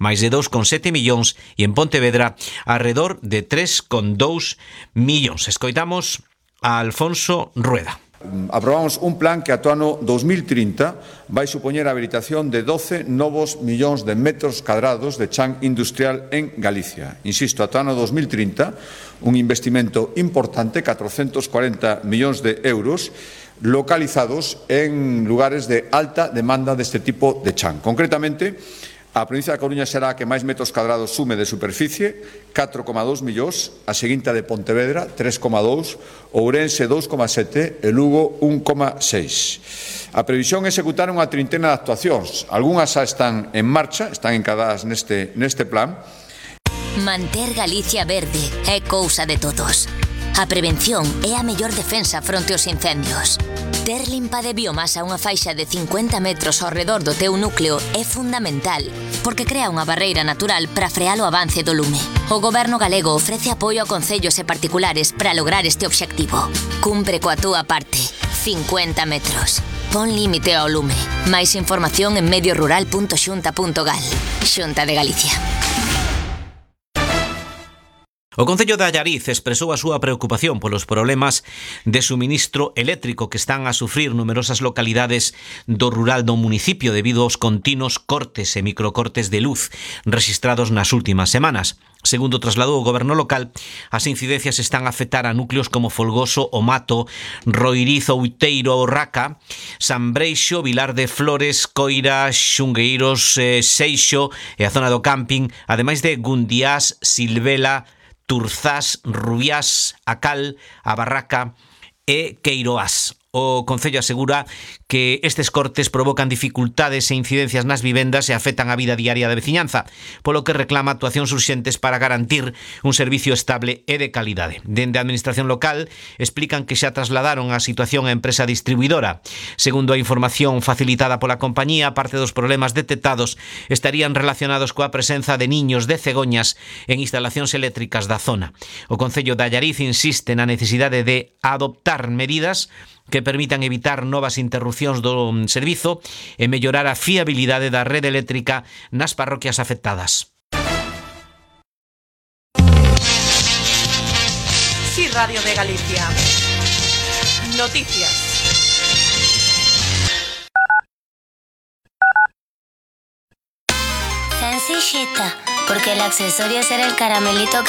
máis de 2,7 millóns e en Pontevedra arredor de 3,2 millóns. Escoitamos a Alfonso Rueda. Aprobamos un plan que ata o ano 2030 vai supoñer a habilitación de 12 novos millóns de metros cadrados de chan industrial en Galicia. Insisto, ata o ano 2030, un investimento importante, 440 millóns de euros, localizados en lugares de alta demanda deste tipo de chan. Concretamente, a provincia da Coruña será a que máis metros cadrados sume de superficie, 4,2 millóns, a seguinte de Pontevedra, 3,2, Ourense 2,7 e Lugo 1,6. A previsión é executar unha trintena de actuacións. Algúnas xa están en marcha, están encadadas neste plan. Manter Galicia verde é cousa de todos. A prevención é a mellor defensa fronte aos incendios. Ter limpa de biomasa unha faixa de 50 metros ao redor do teu núcleo é fundamental, porque crea unha barreira natural para frear o avance do lume. O Goberno galego ofrece apoio a concellos e particulares para lograr este obxectivo. Cumpre coa túa parte. 50 metros. Pon límite ao lume. Máis información en mediorural.xunta.gal. Xunta de Galicia. O Concello de Allariz expresou a súa preocupación polos problemas de suministro eléctrico que están a sufrir numerosas localidades do rural do municipio debido aos continuos cortes e microcortes de luz rexistrados nas últimas semanas. Segundo trasladou o goberno local, as incidencias están a afectar a núcleos como Folgoso, O Mato, Roiriz, Outeiro, Raca, San Breixo, Vilar de Flores, Coira, Xungueiros, Seixo e a zona do camping, ademais de Gundiás, Silvela, Turzás, Rubiás, A Cal, A Barraca e Queiroás. O Concello asegura que estes cortes provocan dificultades e incidencias nas vivendas e afectan a vida diaria da veciñanza, polo que reclama actuacións urxentes para garantir un servicio estable e de calidade. Dende a Administración local explican que xa trasladaron a situación á empresa distribuidora. Segundo a información facilitada pola compañía, parte dos problemas detectados estarían relacionados coa presenza de niños de cegoñas en instalacións eléctricas da zona. O Concello de Allariz insiste na necesidade de adoptar medidas que permitan evitar novas interrupcións do servizo e mellorar a fiabilidade da rede eléctrica nas parroquias afectadas. Sí, Radio de Galicia. Noticias. Sencillita, porque el accesorio será el caramelito que